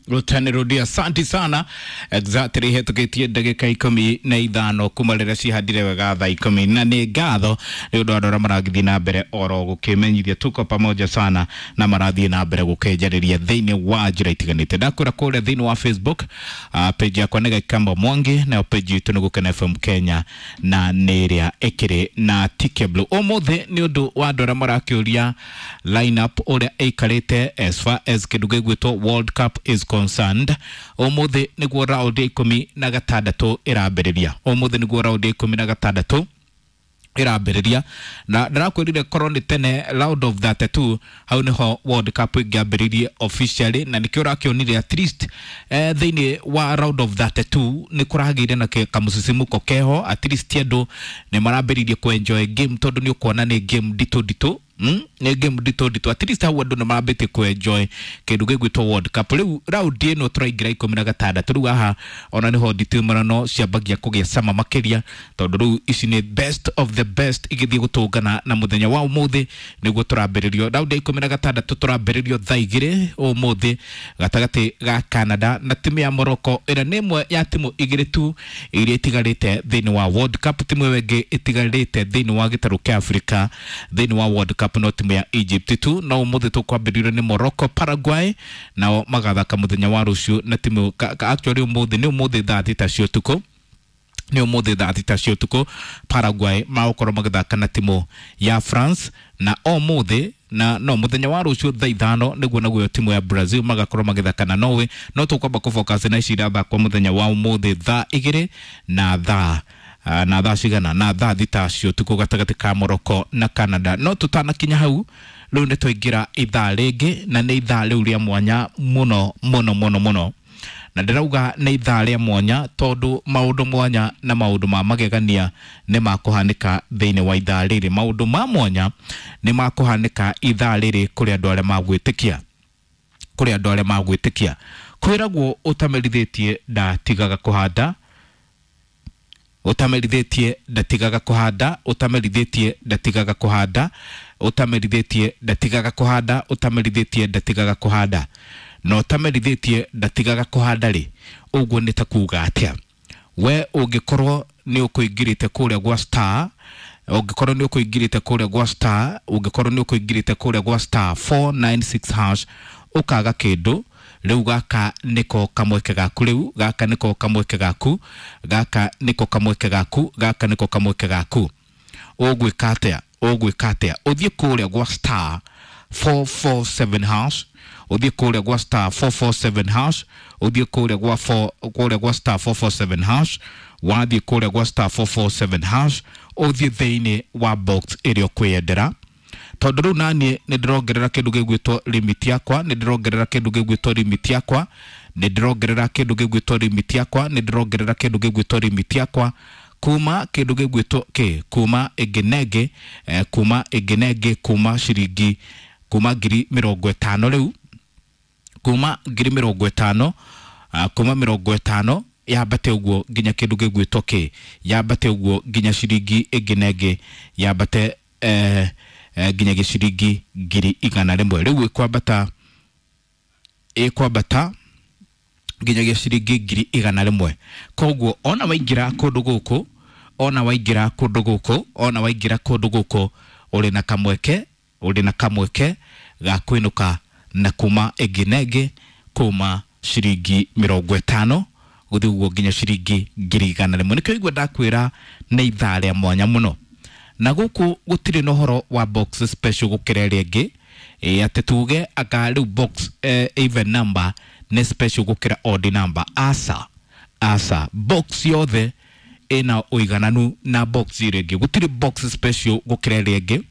Rutani asante sana. Exactly hetũkĩtie ndagĩka 15 kuma rĩrĩa cihandire wega thaa 10 na nĩ ngatho nĩ ũndũ wa andũ arĩa maragĩthiĩ na mbere oro gũkĩmenyithia tuko pamoja sana na marathiĩ na mbere gũkĩnjarĩria thĩinĩ wa njĩra itiganĩte. Ndakwĩra kũrĩa thĩinĩ wa Facebook, page yakwa nĩ Gakamba Mwangi, nayo page itũ nĩ Gũkena FM Kenya na nĩ ĩrĩa ĩkĩrĩ na TK Blue. Ũmũthĩ nĩ ũndũ wa andũ arĩa marakĩũria lineup ũrĩa ĩikarĩte as far as kĩndũ gĩgwĩtwo World Cup is concerned. Ũmũthĩ nĩguo round ya 16 ĩrambĩrĩria. Ũmũthĩ nĩguo round ya 16 ĩrambĩrĩria, na ndĩrakwĩrire korwo nĩ tene round of 32 hau nĩho World Cup ĩngĩambĩrĩirie officially, na nĩkĩo ũrakĩonire at least thĩinĩ wa round of 32 nĩ kũragĩire na kamũcicimuko keho. At least andũ nĩ marambĩrĩirie kũ-enjoy game tondũ nĩ ũkuona nĩ game nditũ nditũ. Nĩ game nditũ nditũ. At least hau andũ nĩ marambĩtie kũ-enjoy kĩndũ gĩgwĩtwo World Cup. Rĩu round ĩno tũraingĩra 16 rĩu haha ona nĩho nditimũrano ciambagia kũgĩa cama makĩria, tondũ rĩu ici nĩ best of the best igĩthiĩ gũtũngana. Na mũthenya wa ũmũthĩ nĩguo tũrambĩrĩrio round ya 16, tũrambĩrĩrio thaa 2 ũmũthĩ gatagatĩ ga Canada na timu ya Morocco, ĩrĩa nĩ ĩmwe ya timu igĩrĩ tu iria itigarĩte thĩinĩ wa World Cup. Timu ĩyo ĩngĩ ĩtigarĩte thĩinĩ wa gĩtarũ kĩa Afrika thĩinĩ wa World Cup no timu ya Egypt tu. No ũmũthĩ tũkwambĩrĩrio nĩ Morocco. Paraguay nao magathaka mũthenya wa rũciũ na timu actually ũmũthĩ, nĩ ũmũthĩ thaa 6 cia ũtukũ, nĩ ũmũthĩ thaa 6 cia ũtukũ Paraguay magũkorwo magĩthaka na timu ya France. Na ũmũthĩ na no mũthenya wa rũciũ thaa 5 nĩguo naguo timu ya Brazil magakorwo magĩthaka na Norway. No tũkwamba kũfocus na ici irathakwo mũthenya wa ũmũthĩ thaa 2 na thaa na thaa cigana na thaa 6 cia ũtukũ gatagatĩ ka Morocco na Canada. No tũtanakinya hau, rĩu nĩ twaingĩra ithaa rĩngĩ, na nĩ ithaa rĩu rĩa mwanya mũno mũno mũno mũno, na ndĩrauga nĩ ithaa rĩa mwanya tondũ maũndũ mwanya na maũndũ ma magegania nĩ makũhanĩka thĩinĩ wa ithaa rĩrĩ. Maũndũ ma mwanya nĩ makũhanĩka ithaa rĩrĩ kũrĩ andũ arĩa magwĩtĩkia, kũrĩ andũ arĩa magwĩtĩkia. Kwĩragwo ũtamerithĩtie ndatigaga kũhanda, ũtamerithĩtie ndatigaga kũhanda, ũtamerithĩtie ndatigaga kũhanda, ũtamerithĩtie ndatigaga kũhanda, ũtamerithĩtie ndatigaga kũhanda, na ũtamerithĩtie ndatigaga kũhanda rĩ, ũguo nĩ ta kuga atĩa? We ũngĩkorwo nĩ ũkũingĩrĩte kũrĩa gwa star, ũngĩkorwo nĩ ũkũingĩrĩte kũrĩa gwa star, ũngĩkorwo nĩ ũkũingĩrĩte kũrĩa gwa star 496 hash ũkaga kĩndũ, rĩu gaka nĩko kamweke gaku, rĩu gaka nĩko kamweke gaku, gaka nĩko kamweke gaku, gaka nĩko kamweke gaku. Ũgwĩka atĩa? Ũgwĩka atĩa? Ũthiĩ kũrĩa gwa star 447 hash, ũthiĩ kũrĩa gwa star 447 hash, ũthiĩ kũrĩa gwa 4 kũrĩa gwa star 447 hash. Wathiĩ kũrĩa gwa star 447 hash, ũthiĩ thĩinĩ wa box ĩrĩa ũkwĩyendera, tondũ rĩu naniĩ nĩ ndĩrongerera kĩndũ gĩgwĩtwo limit yakwa, nĩ ndĩrongerera kĩndũ gĩgwĩtwo limit yakwa, nĩ ndĩrongerera kĩndũ gĩgwĩtwo limit yakwa, nĩ ndĩrongerera kĩndũ gĩgwĩtwo limit yakwa kuma kĩndũ gĩgwĩtwo kĩ kuma ĩngĩ na ĩngĩ, kuma ĩngĩ na ĩngĩ, kuma ciringi, kuma 50,000 rĩu, kuma 50,000, kuma 50 yambate ũguo nginya kĩndũ gĩgwĩtwo kĩ yambate ũguo nginya ciringi ĩngĩ na ĩngĩ yambate nginya gĩciringi 100,000. Rĩu ĩkwambata, ĩkwambata nginya gĩciringi 100,000. Koguo ona waingĩra kũndũ gũkũ, ona waingĩra kũndũ gũkũ, ona waingĩra kũndũ gũkũ, ũrĩ na kamweke, ũrĩ na kamweke ga kwĩnũka na kuma ĩngĩ na ĩngĩ, kuma ciringi 50 gũthiĩ ũguo nginya ciringi 100,000. Nĩkĩo igua ndakwĩra nĩ ithaa rĩa mwanya mũno, na gũkũ gũtirĩ na ũhoro wa box special gũkĩra ĩrĩa ĩngĩ, atĩ tuge anga rĩu box even number nĩ special gũkĩra odd number. Aca, aca, box yothe ĩna ũigananu na box ĩrĩa ĩngĩ, gũtirĩ box special gũkĩra ĩrĩa ĩngĩ.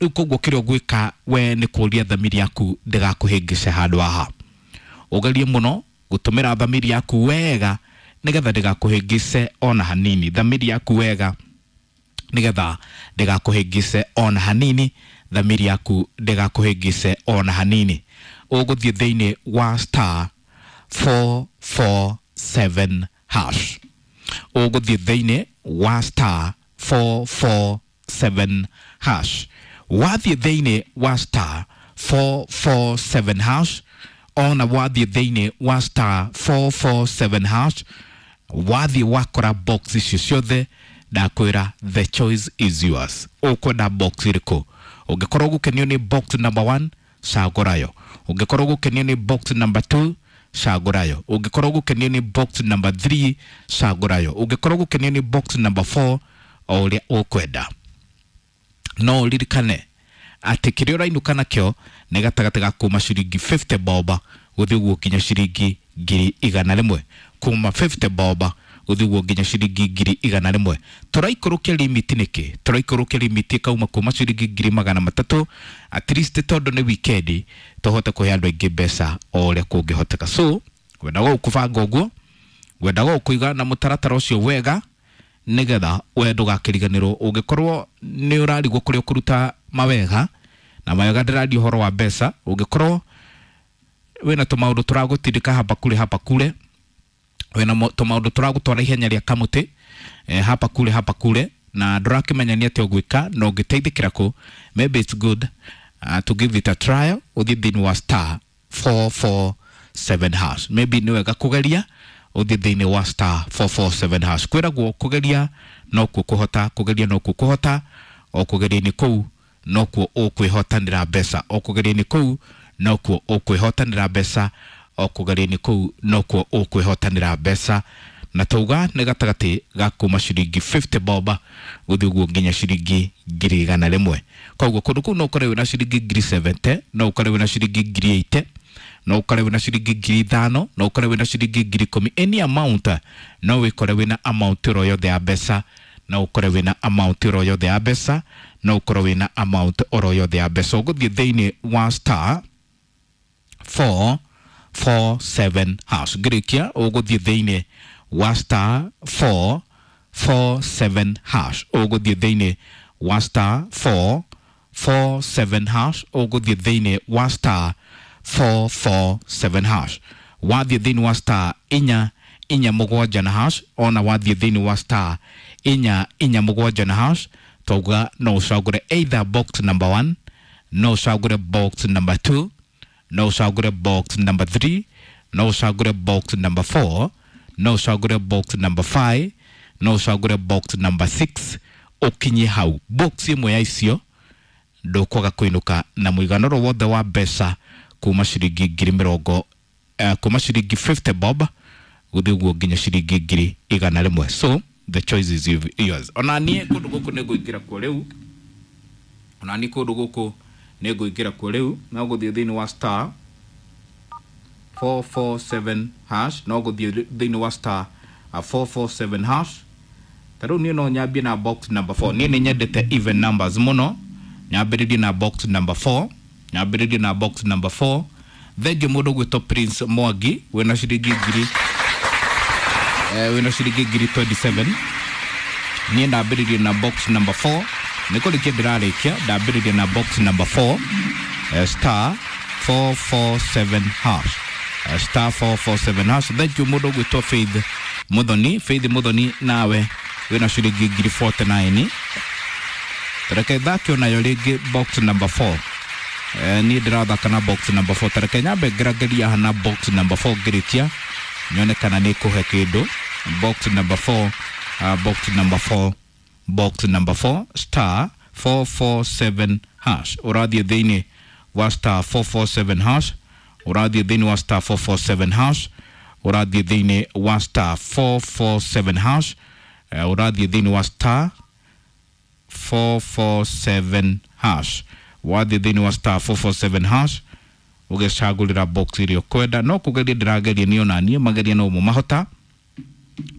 Rĩu koguo kĩrĩa ũgwĩka we nĩ kũria thamiri yaku ndĩgakũhĩngĩce handũ haha. Ũgerie mũno gũtũmĩra thamiri yaku wega nĩgetha ndĩgakũhĩngĩce ona hanini, thamiri yaku wega nĩgetha ndĩgakũhĩngĩce ona hanini, thamiri yaku ndĩgakũhĩngĩce ona hanini. Ũgũthiĩ thĩinĩ wa star 447 hash, ũgũthiĩ thĩinĩ wa star 447 hash. Wathiĩ thĩinĩ wa star 447 hash, Ona wathiĩ thĩinĩ wa star 447 hash, wathiĩ wakora box icio ciothe, ndakwĩra the choice is yours. Ũkwenda box ĩrĩkũ? Ũngĩkorwo gũkenio nĩ box number 1, cagũrayo. Ũngĩkorwo gũkenio nĩ box number 2, cagũrayo. Ũngĩkorwo gũkenio nĩ box number 3, cagũrayo. Ũngĩkorwo gũkenio nĩ box number 4, o ũrĩa ũkwenda. No ũririkane atĩ kĩrĩa ũrainũka nakĩo nĩ gatagatĩ ga kuma ciringi 50 bob gũthiĩ ũguo nginya ciringi 100,000. Kuma 50 bob gũthiĩ ũguo nginya ciringi 100,000. Tũraikũrũkia limit nĩkĩ? Tũraikũrũkia limit ĩkauma kuma ciringi 300,000, at least tondũ nĩ weekend tũhote kũhe andũ aingĩ mbeca o ũrĩa kũngĩhoteka. So ngwendaga gũkũbanga ũguo, ngwendaga gũkũiga na mũtaratara ũcio wega, nĩgetha we ndũgakĩriganĩrwo. Ũngĩkorwo nĩ ũrarigwo kũrĩa ũkũruta mawega, na mawega ndĩraria ũhoro wa mbeca, ũngĩkorwo wĩna tũmaũndũ tũragũtindĩka hapa kule hapa kule, wĩna tũmaũndũ tũragũtwara ihenya rĩa kamũtĩ, hapa kule hapa kule, na ndũrakĩmenya nĩ atĩa ũgwĩka na ũngĩteithĩkĩra kũ, maybe it's good to give it a trial. Ũthiĩ thĩinĩ wa star 447 hash. Maybe nĩ wega kũgeria ũthiĩ thĩinĩ wa star 447 hash. Kwĩragwo kũgeria nokuo kũhota, kũgeria nokuo kũhota, o kũgeria-inĩ kũu nokuo ũkwĩhotanĩra mbeca, o kũgeria-inĩ kũu nokuo ũkwĩhotanĩra mbeca, o kũgeria-inĩ kũu nokuo ũkwĩhotanĩra mbeca. Na tauga nĩ gatagatĩ ga kuma ciringi 50 bob gũthiĩ ũguo nginya ciringi 100,000. Koguo kũndũ kũu no ũkore wĩna ciringi 70,000, no ũkore wĩna ciringi 80,000, no ũkore wĩna ciringi 5,000, no ũkore wĩna ciringi 10,000. Any amount, no wĩkore wĩna amount ĩro yothe ya mbeca, no ũkore wĩna amount ĩro yothe ya mbeca, no ũkorwo wĩna amount oro yothe ya mbeca. Ũgũthiĩ thĩinĩ wa star 447 hash. Ngĩrĩkia ũgũthiĩ thĩinĩ wa star 447 hash. Ũgũthiĩ thĩinĩ wa star 447 hash. Ũgũthiĩ thĩinĩ wa star 447 hash. Wathiĩ thĩinĩ wa star 447 na hash, ona wathiĩ thĩinĩ wa star 447 na hash, tauga no ũcagũre either box number 1, no ũcagũre box number 2, no ũcagũre box number 3, no ũcagũre box number 4, no ũcagũre box number 5, no ũcagũre box number 6. Ũkinye hau box ĩmwe ya icio ndũkwaga kũinũka na mũigana ũrĩa wothe wa mbeca kuma ciringi ngiri mĩrongo, kuma ciringi 50 bob gũthiĩ ũguo nginya ciringi 100,000. So the choice is yours. Ona niĩ kũndũ gũkũ nĩ ngũingĩra kuo rĩu, ona niĩ kũndũ gũkũ nĩ ngũingĩra kuo rĩu. No gũthiĩ thĩinĩ wa star 447 hash, no gũthiĩ thĩinĩ wa star 447 hash. Ta rĩu niĩ no nyambie na box number 4. Niĩ nĩ nyendete even numbers mũno, nyambĩrĩrie na box number 4, nyambĩrĩrie na box number 4. Thengiũ mũndũ ũgwĩtwo Prince Mwangi wĩna ciringi ngiri, wĩna ciringi 27,000. Niĩ ndambĩrĩrie na box number 4, nĩ kũrĩkia ndĩrarĩkia, ndambĩrĩrie na box number 4, star 447 hash, star 447 hash. Thengiũ mũndũ ũgwĩtwo Faith Muthoni. Faith Muthoni, nawe wĩna ciringi 49,000. Tareke thake onayo rĩngĩ box number 4. Niĩ ndĩrathaka na box number 4. Tareke nyambe ngerageria haha na box number 4 ngĩrĩkia nyone kana nĩ kũhe kĩndũ. Box number 4, box number 4, box number 4, star 447 hash. Ũrathiĩ thĩinĩ wa star 447 hash, ũrathiĩ thĩinĩ wa star 447 hash, ũrathiĩ thĩinĩ wa star 447 hash, ũrathiĩ thĩinĩ wa star 447 hash. Wathiĩ thĩinĩ wa star 447 hash ũgĩcagũrĩra box ĩrĩa ũkwenda. No kũgeria ndĩrageria niĩ ona niĩ, mageria no mo mahota,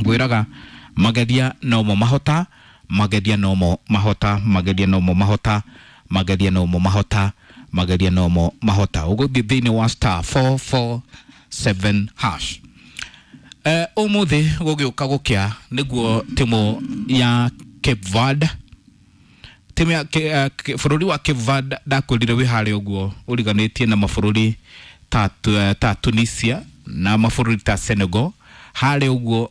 ngwĩraga mageria no mo mahota, mageria no mo mahota, mageria no mo mahota, mageria no mo mahota, mageria no mo mahota. Ũgũthiĩ thĩinĩ wa star 447 hash. Ũmũthĩ gũgĩũka gũkĩa nĩguo timu ya Cape Verde, timu ya bũrũri wa Cape Verde ndakwĩrire wĩ harĩa ũguo ũriganĩtie na mabũrũri ta Tunisia na mabũrũri ta Senegal, harĩa ũguo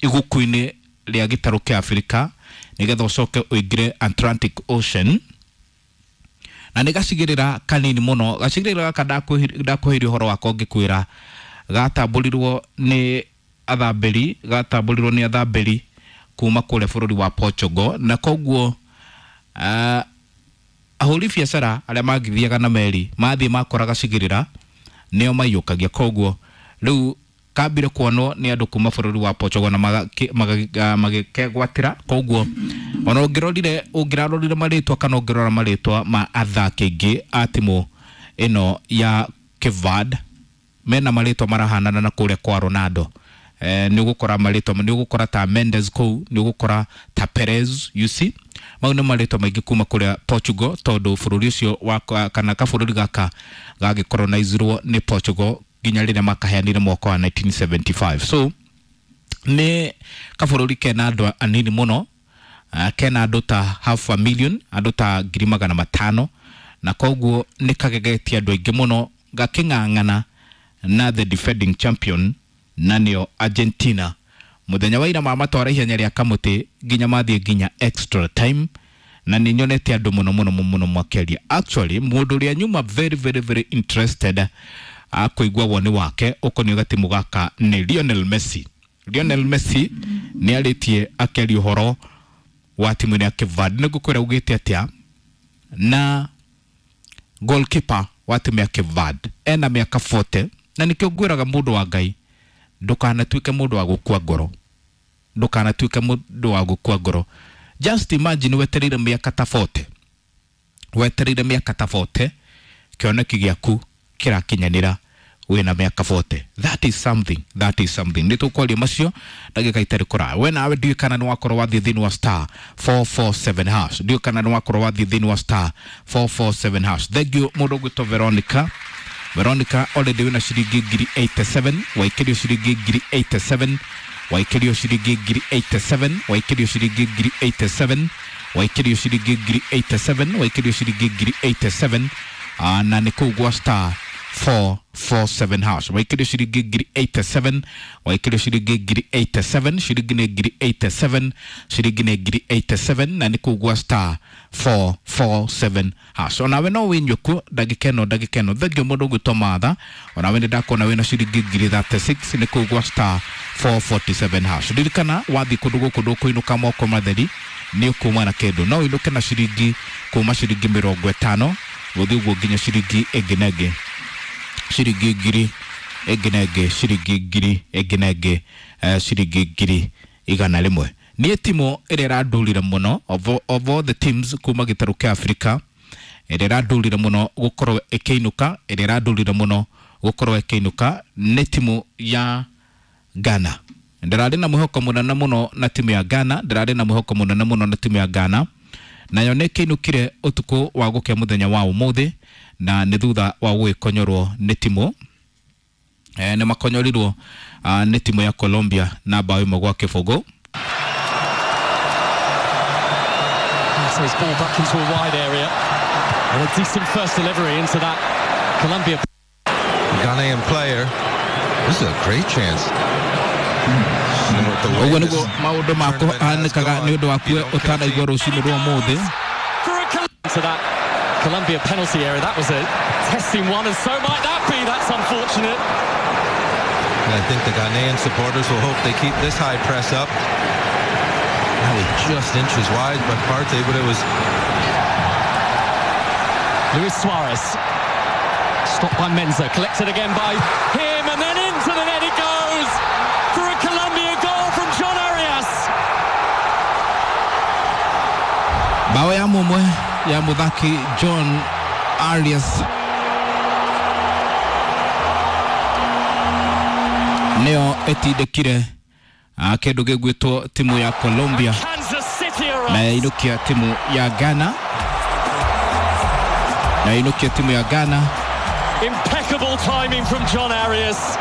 iguku-inĩ rĩa gĩtarũ kĩa Afrika, nĩgetha ũcoke ũingĩre Atlantic Ocean. Na nĩ gacigĩrĩra kanini mũno, gacigĩrĩra gaka ndakwĩhĩria ũhoro wakwa ngĩkwĩra gatambũrirwo nĩ athambĩri, gatambũrirwo nĩ athambĩri kuma kũrĩa bũrũri wa Portugal. Na koguo ahũri biacara arĩa mangĩthiaga na meri mathiĩ makora gacigĩrĩra nĩo maiyũkagia. Koguo rĩu kambire kuonwo nĩ andũ kuma bũrũri wa Portugal na magĩkegwatĩra. Koguo ona ũngĩrorire, ũngĩrarorire marĩtwa kana ũngĩrora marĩtwa ma athaki aingĩ a timu ĩno ya Cape Verde mena marĩtwa marahanana na kũrĩa kwa Ronaldo. Nĩ ũgũkora marĩtwa, nĩ ũgũkora ta Mendes kũu, nĩ ũgũkora ta Perez, you see, mau nĩ marĩtwa maingĩ kuma kũrĩa Portugal, tondũ bũrũri ũcio wa kana kabũrũri gaka gagĩcolonizirwo nĩ Portugal nginya rĩrĩa makaheanire mwaka wa 1975. So nĩ kabũrũri kena andũ anini mũno, kena andũ ta half a million, andũ ta 500,000, na koguo nĩ kagegetie andũ aingĩ mũno gakĩng'ang'ana na the defending champion na nĩo Argentina. Mũthenya wa ira mamatwara ihenya rĩa kamũtĩ nginya mathiĩ nginya extra time, na nĩ nyonete andũ mũno mũno mũno makĩaria. Actually mũndũ ũrĩa nyuma very very very interested akũigua woni wake ũkoniĩ gatimu gaka nĩ Lionel Messi. Lionel Messi nĩ arĩtie akĩaria ũhoro wa timu ya Cape Verde. Nĩ ngũkwĩra augĩte atĩa na goalkeeper wa timu ya Cape Verde ena mĩaka 40, na nĩkĩo ngwĩraga mũndũ wa Ngai ndũkanatuĩke mũndũ wa gũkua ngoro, ndũkanatuĩke mũndũ wa gũkua ngoro. Just imagine wetereire mĩaka ta 40, wetereire mĩaka ta 40, kĩoneki gĩaku kĩrakinyanĩra wĩna mĩaka 40. That is something, that is something. Nĩ tũkwaria macio ndagĩka itarĩ kũraya. We nawe ndiũĩ kana nĩ wakorwo wathiĩ thĩinĩ wa star 447 hash, ndiũĩ kana nĩ wakorwo wathiĩ thĩinĩ wa star 447 hash. Thank you mũndũ ũgwĩtwo Veronica. Veronica already wĩna ciringi 87,000, waikĩrio ciringi 87,000, waikĩrio ciringi 87,000, waikĩrio ciringi 87,000, waikĩrio ciringi 87,000, waikĩrio ciringi 87,000, na nĩ kũu gwa star 447 hash. Waikĩrio ciringi 87,000, waikĩrio ciringi 87,000, ciringi nĩ 87,000, ciringi nĩ 87,000, na nĩ kũu gwa star 447 hash. Onawe no wĩnyue kuo ndagĩka ĩno, ndagĩka ĩno. Thengiũ mũndũ ũgwĩtwo Martha, onawe nĩ ndakuona wĩna ciringi 36,000 nĩ kũu gwa star 447 hash. Ririkana wathiĩ kũndũ gũkũ ndũkũinũka moko matheri, nĩ ũkuma na kĩndũ. No ũinũke na ciringi kuma ciringi 50 gũthiĩ ũguo nginya ciringi ĩngĩ na ĩngĩ, ciringi ngiri ĩngĩ na ĩngĩ, ciringi ngiri ĩngĩ na ĩngĩ, ciringi 100,000. Niĩ timu ĩrĩa ĩrandurire mũno of all the teams kuma gĩtarũ kĩa Afrika, ĩrĩa ĩrandurire mũno gũkorwo ĩkĩinũka, ĩrĩa ĩrandurire mũno gũkorwo ĩkĩinũka nĩ timu ya Ghana. Ndĩrarĩ na mwĩhoko mũnene mũno na timu ya Ghana, ndĩrarĩ na mwĩhoko mũnene mũno na timu ya Ghana, nayo nĩ ĩkĩinũkire ũtukũ wa gũkĩa mũthenya wa ũmũthĩ, na nĩ thutha wa gũgĩkonyorwo nĩ timu nĩ makonyorirwo nĩ timu ya Colombia na bao 1-0. So his ball back into a wide area and a decent first delivery into that Colombia Ghanaian player. This is a great chance. Ũguo nĩguo maũndũ makũhanĩkaga nĩ ũndũ waku ũtanaigua rũcinĩ rwa ũmũthĩ. To that Colombia penalty area, that was a testing one, and so might that be. That's unfortunate. And I think the Ghanaian supporters will hope they keep this high press up. That was just inches wide by Partey, but it was Luis Suarez. Stopped by Menza, collected again by him, and then into the net it goes for a Colombia goal from John Arias. Bao ya mumwe ya muthaki John Arias nĩyo ĩtindĩkire kĩndũ gĩgwĩtwo timu ya Colombia na yainũkia timu ya Ghana, na yainũkia timu ya Ghana. Impeccable timing from John Arias.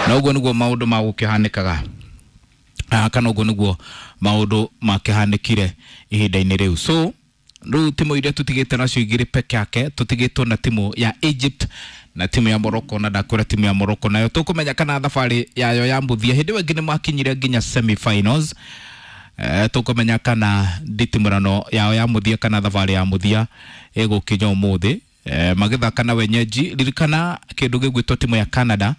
Na ũguo nĩguo maũndũ ma gũkĩhanĩkaga, kana ũguo nĩguo maũndũ makĩhanĩkire ihinda-inĩ rĩu. So rĩu timu iria tũtigĩte nacio igĩrĩ peke yake, tũtigĩtwo na timu ya Egypt Na timu ya Morocco, na ndakwĩra timu ya Morocco nayo tũkũmenya kana thabarĩ yayo ya mũthia hĩndĩ ĩyo ĩngĩ nĩ makinyire nginya semi-finals. Tũkũmenya kana nditimũrano yao ya mũthia kana thabarĩ ya mũthia ĩgũkinya ũmũthĩ, magĩthaka na wenyeji. Ririkana kĩndũ gĩgwĩtwo timu ya Canada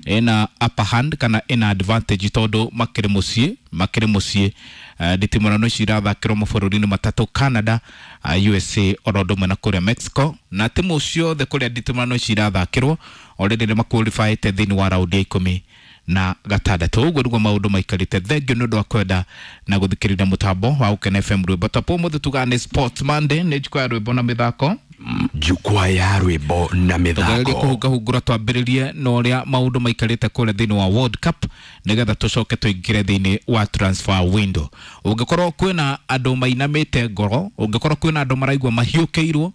ĩna upper hand kana ĩna advantage tondũ makĩrĩ mũciĩ, makĩrĩ mũciĩ. Nditimũrano ici irathakĩrwo mabũrũri-inĩ matatũ, Canada, USA oro ũndũ ũmwe na kũrĩa Mexico, na timu ciothe kũrĩa nditimũrano ici irathakĩrwo already nĩ maqualifyĩte thĩinĩ wa raundi ya 16. Ũguo nĩguo maũndũ maikarĩte. Thengiũ nĩ ũndũ wa kwenda na gũthikĩrĩria mũtambo wa Gũkena FM rwĩmbo tapo. Ũmũthĩ tugaga nĩ Sports Monday, nĩ njukwa ya rwĩmbo na mĩthako. Jukwaa ya rwĩmbo na tũgererie mĩthako. Kũhungahungũra twambĩrĩrie na ũrĩa maũndũ maikarĩte kũrĩa thĩinĩ wa World Cup, nĩgetha tũcoke tũingĩre thĩinĩ wa transfer window. Ũngĩkorwo kwĩna andũ mainamĩte ngoro, ũngĩkorwo kwĩna andũ maraigua mahiũkĩirwo,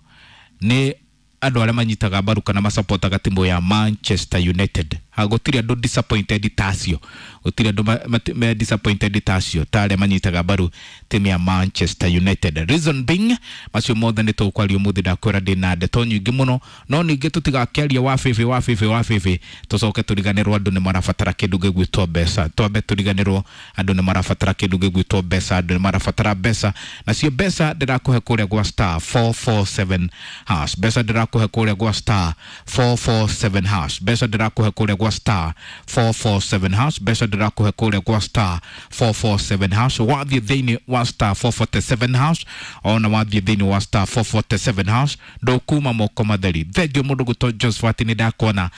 nĩ andũ arĩa manyitaga mbaru kana masapotaga timu ya Manchester United. Ha, gũtirĩ andũ disappointed ta acio, gũtirĩ andũ me disappointed ta acio, ta arĩa manyitaga mbaru timu ya Manchester United. Reason being, macio mothe nĩ tũkwaria ũmũthĩ. Ndakwĩra ndĩna ndeto nyingĩ mũno, no ningĩ tũtigakĩaria wa bĩbĩ wa bĩbĩ wa bĩbĩ tũcoke tũriganĩrwo andũ nĩ marabatara kĩndũ gĩgwĩtwo mbeca. Twambe tũriganĩrwo andũ nĩ marabatara kĩndũ gĩgwĩtwo mbeca. Andũ nĩ marabatara mbeca, nacio mbeca ndĩrakũhe kũrĩa gwa *447#. Mbeca ndĩrakũhe kũrĩa gwa *447#. Mbeca ndĩrakũhe kũrĩa gwa *447#. Mbeca ndĩrakũhe kũrĩa gwa *447#. Wathiĩ thĩinĩ wa *447#, ona wathiĩ thĩinĩ wa *447# ndũkuma moko matheri. Thengiũ mũndũ gwĩtwo Josephat, nĩ ndakuona.